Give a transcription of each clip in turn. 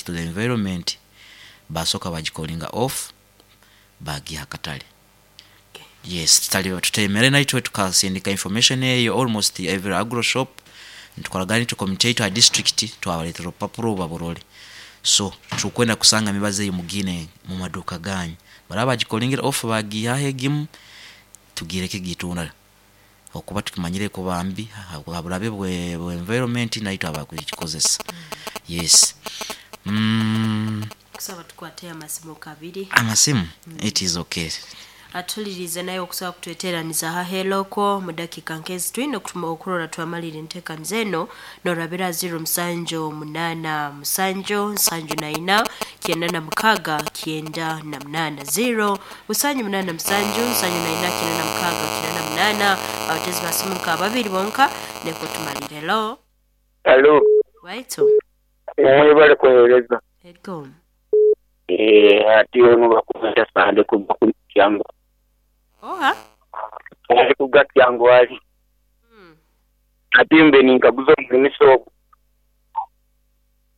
To the environment, basoka bagicallinga off, bagiha akatale. Yes, tutali tutemere naitwe tukasindika information eyo almost every agro shop, nitukoragana nitwe komite yaitu ha district, twabaletera orupapuro baburole. So tukwenda kusanga emibazi eyo mugine mumaduka ganyu, baraba bagicallingire off bagihaho egimu, tugireke gitunda okuba tukimanyire kuba mbi haburabe bwe environment naitwe abakugikozesa. Yes. Kusaba tukwate amasimu kabiri. Amasimu, it is okay. Atulirize naye okusobola kutweteraniza haheloko mu dakiika nkezi twine okurora twamalira enteekaniza eno norabira 0787 74 96 98 0 787 74 96 98. Abatezi basimu nka babiri bonka neko tumalire. Hello. Halo. Waitu. Mwebale kuwereza. Ego. Ati ono bakweta Sande kuva ku Kyangwali. Oha. Sande kuva Kyangwali. Ati mbe ninkaguza omulimisa ogu,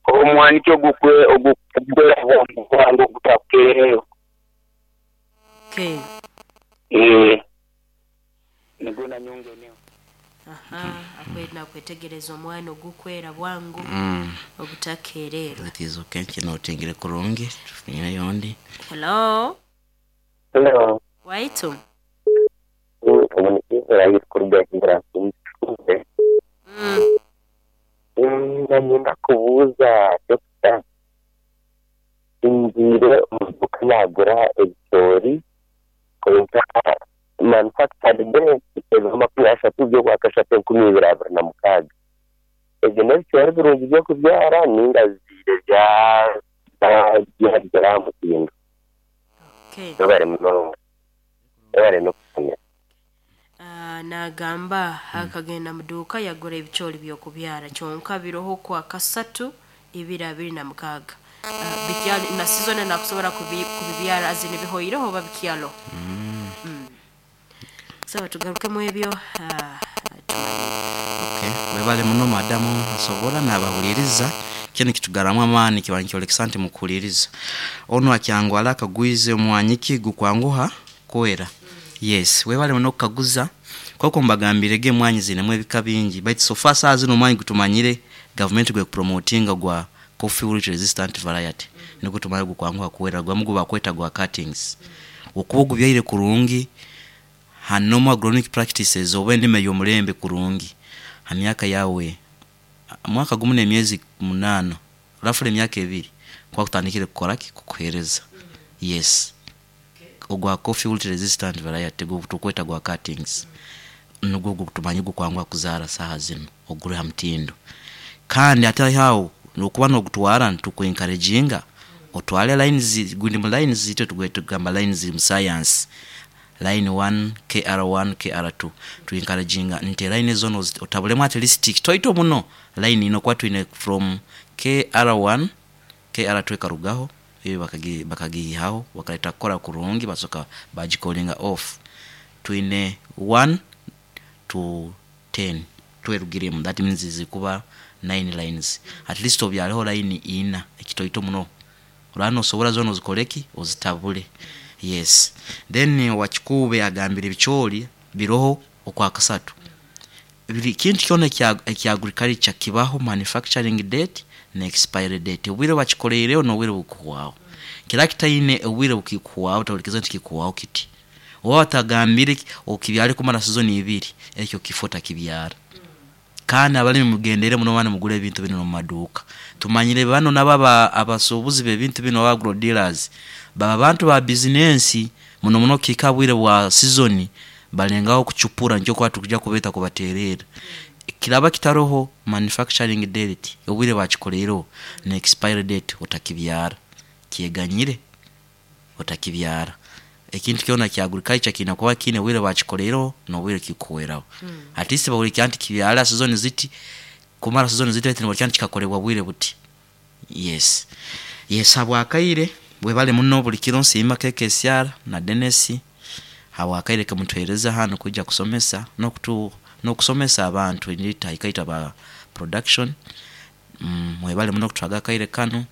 omwani ki ogukwera bwangu bwangu ogutakukeereyo? Okay. Nigwo nanyongeneho. Aha, akwenda kwetegereza omwana ogukwera bwangu ogutakererwa. It is okay, kinotingire kurungi, tufunire yondi. Hello. Hello. Waitu. Kuruga. Nanyenda kubuuza dokita, ngiire omu duuka nagura ebicoori kwonka manufactured date ebiro 30 by'okwakashatu 2026. Ebyo n'ebicoori birungi by'okubyara ninga ziire byagera aha mutindo? Okay. Webare munonga, webare n'okusomesa. Nagamba akagenda muduuka yagura ebicoori by'okubyara kyonka biroho kwa kasatu 2026. Bikyali na season nakusobora kubibyara azini bihoireho oba bikyalo. Sawa, tugarukemu ebyo, tumalire. Okay, webale muno madamu asobora nabahuliriza, kinu kitugaramu amaani kiba nikyolekesa nti mukuhuliriza. Onu akyangwala akagwize omwanyiki gukwanguha kwera. Yes, webale muno kukaguza, koko mbagambirege emwanyi zinemu ebika bingi, baitu so far saaha zinu omwanyi gutumanyire gavumenti gwekupromotinga gwa coffee wilt resistant variety, nigwo tumanyire gukwanguha kwera, gwamu gubakweta gwa cuttings. Okuba ogubyaire kurungi, hanomu agronomic practices oba endima ey'omulembe kurungi, ha myaka yawe mwaka gumu n'emyezi 8, roughly emyaka 2, kuba kutandikire kukoraki, kukuhereza. Yes. Ogwa coffee wilt resistant variety tukweta gwa cuttings, nugwo gutumanyire gukwanguha kuzaara saaha zinu oguri ha mutindo. Kandi hatali aho, nokuba nogutwara nituku-encouraginga otwale lines, gundi mu lines itwe tugamba lines mu science, line 1, KR1, KR2, tu-encouraginga nti line zoona otabulemu at least kitoito muno line ina, okuba twine from KR1, KR2 ekarugaho, eyo bakagiihaho bakaleta kukora kurungi basoka bagicallinga off. Twine 1 to 10 twerugiremu, that means zikuba 9 lines. At least obyareho line ina ekitoito muno, oraba nosobora zoona ozikoreki, ozitabule. Yes. Then owakikuube agambire ebicoori biroho okwakasatu. Buri kintu kyona ekya agriculture kibaho manufacturing date na expiry date, obwire bakikoreireho n'obwire bukuhwaho. Kiraba kitaine obwire bukikuhwaho tohurikiza nti kikuhwaho kiti. Oba batagambire okibyare kumara season ibiri, ekyo kifo otakibyara. Kandi abalimi mugendere muno banu mugure ebintu binu omu maduuka. Tumanyire banu nabo abasuubuzi b'ebintu binu aba agro dealers, baba bantu ba bizinensi muno muno kihika ha bwire bwa season balengaho kucupura nikyo okuba tukujya kubeeta kubateererra. Kiraba kitaroho manufacturing date, obwire bakikoreireho na expiry date otakibyara, kyeganyire otakibyara. Ekintu kyona kya agriculture kiine kuba kiine obwire bakikoreireho n'obwire kikuhweraho. At least bahurikya nti kibyara season ziti, kumara season ziti baitu nibahurikya nti kikakorebwa bwire buti. Yes. Yes, habwakaire webale muno buli kiro nsiima KKCR na Dennis habwakaire kemutuhereza hanu kwija kusomesa n'okusomesa abantu ikaitwe aba production. Mwebale muno kutuhaga akaire kanu.